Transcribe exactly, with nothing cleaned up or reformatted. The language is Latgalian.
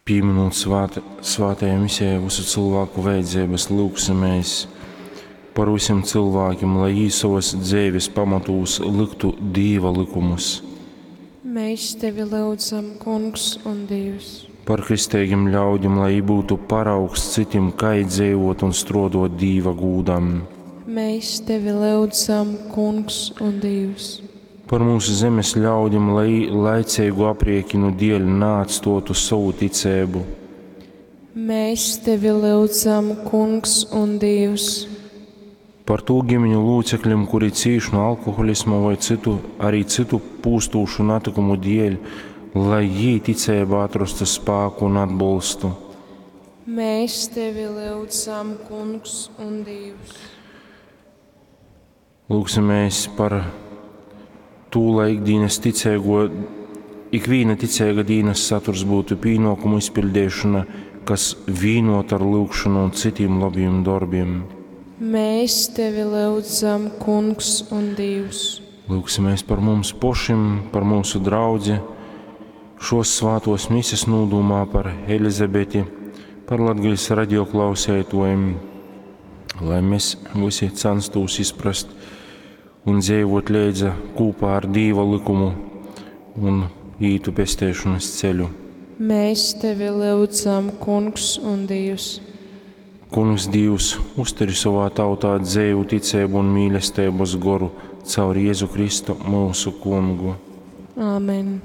Pīminūt svāt, svātajā misijā visu cilvēku vajadzības, lūgsimies par visiem cilvēkiem, lai jī sovas dzeives pamatūs liktu Dīva lykumus. Mēs tevi lyudzam, Kungs un Dievs. Par kristeigim ļaudim, lai jī būtu paraugs citim, kai dzīvot un strodot Dīva gūdam. Mēs tevi lyudzam, Kungs un Dievs. Par mūsu zemes ļaudim, lai laicīgu apriekinu dēļ neatstotu savu ticību. Mēs tevi lyudzam, Kungs un Dievs. Par tū ģimeņu locekļiem, kuri cīš no alkoholisma vai citu, arī citu pūstūšu natikumu dēļ, lai jī ticībā atrastu spēku un atbalstu. Mēs tevi lyudzam, Kungs un Dievs. Lūgsimies par to, lai ikdienas ticīgo, ikviena ticīga dienas saturs būtu pienākumu izpildīšana, kas vienot ar lūgšanu un citiem labiem darbiem. Mēs tevi lyudzam, Kungs un Dievs. Lūgsimies par mums pašiem, par mūsu draudzi, šos svātos mises nūdūmā par Elizabeti, par Latgales radioklausētojiem, lai mēs visi censtos izprast un dzīvot līdzi kopā ar Dīva likumu un ītu pestēšanas ceļu. Mēs tevi lyudzam, Kungs un Dievs. Kungs Dievs, uzturi savā tautā dzēju, ticību un mīlestības goru caur Jēzu Kristu mūsu kungu. Āmen.